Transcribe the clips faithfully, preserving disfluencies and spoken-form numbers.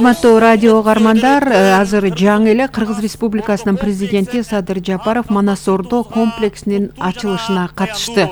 Урматтуу радио угармандар, азыр жаңы эле Кыргыз Республикасынын президенти Садыр Жапаров Манас Ордо комплексинин ачылышына катышты.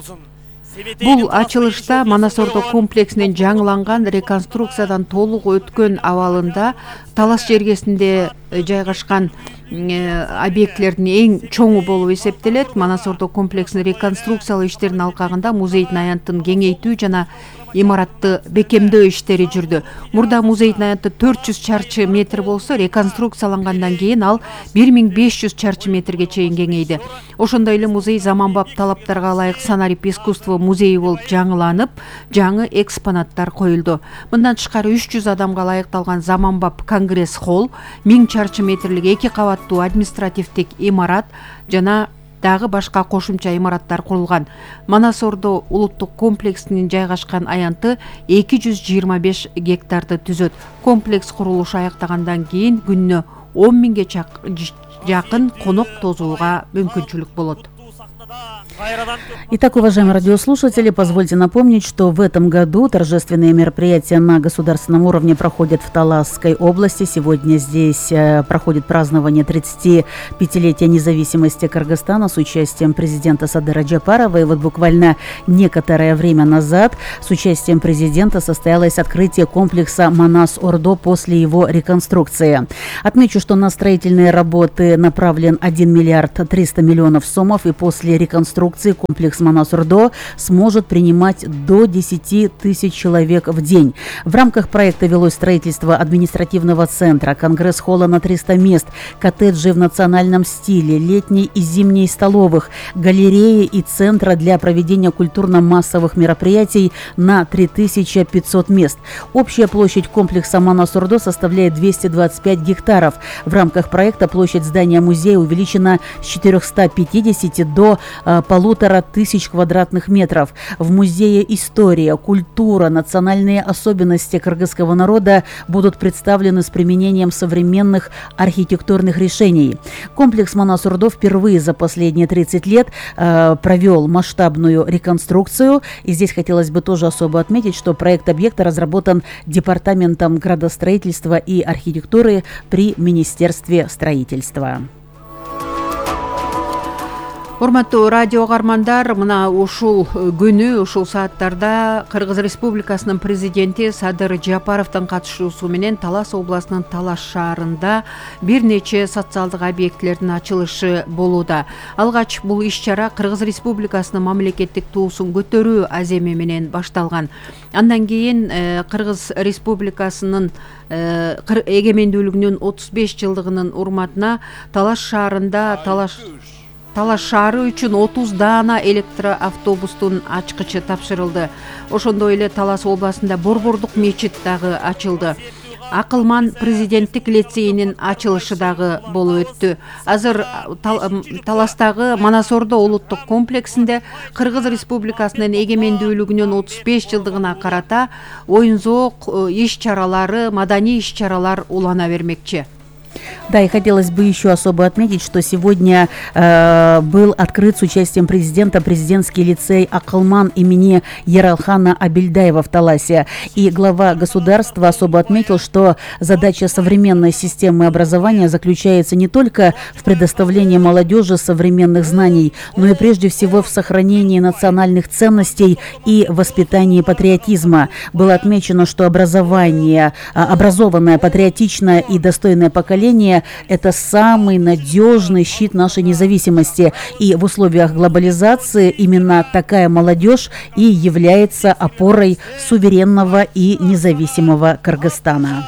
Бул ачылышта Манас Ордо комплексинин жаңыланган реконструкциядан толук өткөн абалында талас жергесинде жайгашкан объектлердин эң чоңу болуп эсептелет. Манас Ордо комплексинин реконструкциялоо иштеринин алкагында музейдин аянтын кеңейтүү жана имаратты бекемдөө иштери жүрдү. Мурда музейдин аянты төрт жүз чарчы метр болсо, реконструкциялангандан кийин ал бир миң беш жүз чарчы метрге чейин кеңейди. Ошондой эле музей заманбап талаптарга ылайык санарип искусство музейи болуп жаңыланып, жаңы экспонаттар коюлду. Мындан тышкары үч жүз адамга ылайыкталган заманбап конгресс холл, миң чарчы метрлик эки кабаттуу административдик имарат жана дагы башка кошумча имараттар курулган. Манас Ордо улуттук комплексинин жайгашкан аянты эки жүз жыйырма беш гектарды түзөт. Комплекс курулушу аяктагандан кийин күнүнө он миңге жакын конок тосууга мүмкүнчүлүк болот. Итак, уважаемые радиослушатели, позвольте напомнить, что в этом году торжественные мероприятия на государственном уровне проходят в Таласской области. Сегодня здесь проходит празднование тридцатипятилетия независимости Кыргызстана с участием президента Садыра Жапарова. И вот буквально некоторое время назад с участием президента состоялось открытие комплекса Манас Ордо после его реконструкции. Отмечу, что на строительные работы направлен один миллиард триста миллионов сомов, и после реконструкции комплекс Манас Ордо сможет принимать до десяти тысяч человек в день. В рамках проекта велось строительство административного центра, конгресс-холла на триста мест, коттеджи в национальном стиле, летней и зимней столовых, галереи и центра для проведения культурно-массовых мероприятий на три тысячи пятьсот мест. Общая площадь комплекса Манас Ордо составляет двести двадцать пять гектаров. В рамках проекта площадь здания музея увеличена с четырёхсот пятидесяти до э, полутора тысяч квадратных метров. В музее история, культура, национальные особенности кыргызского народа будут представлены с применением современных архитектурных решений. Комплекс Манас Ордо впервые за последние тридцать лет э, провел масштабную реконструкцию. И здесь хотелось бы тоже особо отметить, что проект объекта разработан Департаментом градостроительства и архитектуры при Министерстве строительства. Урматтуу радио угармандар, мына ушул күнү, ушул сааттарда Кыргыз Республикасынын президенти Садыр Жапаровдун катышуусу менен Талас областынын Талас шаарында бир нече социалдык объектилердин ачылышы болууда. Алгач бул иш-чара Кыргыз Республикасынын мамлекеттик туусун көтөрүү аземи менен башталган. Андан кийин Кыргыз Республикасынын эгемендүүлүгүнүн отуз беш жылдыгынын урматына Талас шаарында Талас Талас шаары үчүн отуз даана электроавтобустун ачкычы тапшырылды. Ошондой эле Талас областында Борбордук мечит дагы ачылды. Акылман президенттик лицейинин ачылышы дагы болуп өттү. Азыр Таластагы Манас Ордо улуттук комплексинде Кыргыз Республикасынын эгемендүүлүгүнүн отуз беш жылдыгына карата оюн-зоок иш-чаралары, маданий иш-чаралар улана бермекчи. Да, и хотелось бы еще особо отметить, что сегодня э, был открыт с участием президента президентский лицей Акылман имени Яралхана Абильдаева в Таласе. И глава государства особо отметил, что задача современной системы образования заключается не только в предоставлении молодежи современных знаний, но и прежде всего в сохранении национальных ценностей и воспитании патриотизма. Было отмечено, что образование, образованное, патриотичное и достойное поколение – это самый надежный щит нашей независимости. И в условиях глобализации именно такая молодежь и является опорой суверенного и независимого Кыргызстана.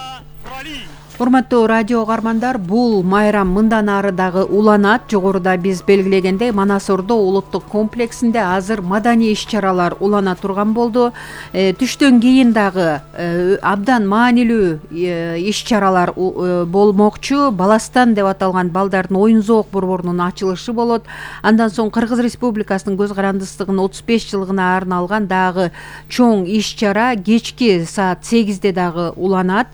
Урматтуу радио угармандар, бул майрам мындан ары дагы уланат. Жогоруда биз белгилегендей Манас Ордо улуттук комплексинде азыр маданий иш-чаралар улана турган болду. Э, түштөн кийин дагы э, абдан маанилүү э, иш-чаралар э, болмокчу. Баластан деп аталган балдардын оюн-зоок борборунун ачылышы болот. Андан соң Кыргыз Республикасынын көз карандысыздыгынын отуз беш жылдыгына арналган дагы чоң иш-чара кечки саат сегизде дагы уланат.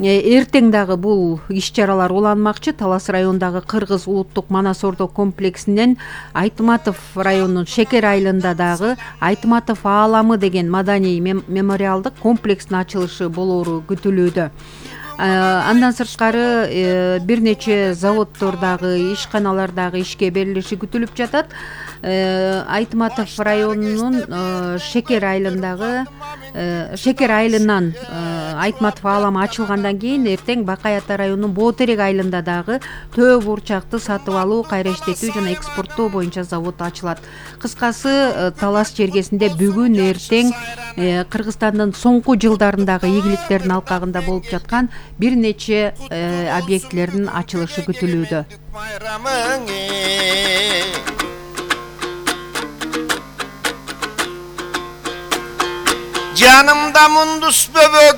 Эртең дагы бул иш-чаралар уланмакчы. Талас районундагы Кыргыз улуттук Манас Ордо комплексинен Айтматов районунун Шекер айылында дагы Айтматов ааламы деген маданий мемориалдык комплекстин ачылышы болоору күтүлүүдө. Андан сырткары бир нече заводдордагы, ишканалардагы ишке берилиши күтүлүп жатат. Айтматов районунун Шекер айылындагы Шекер айылынан Айтматов ааламы ачылгандан кийин эртең Бакай Ата районунун Боотерек айылында дагы төө бурчакты сатып алуу, кайра иштетүү жана экспорттоо боюнча завод ачылат. Кыскасы, талас чергесинде бүгүн эртең Кыргызстандын соңку жылдарындагы ийгиликтердин алкагында болуп жаткан бир нече объектилердин ачылышы күтүлүүдө. Canımda mundus böböğüm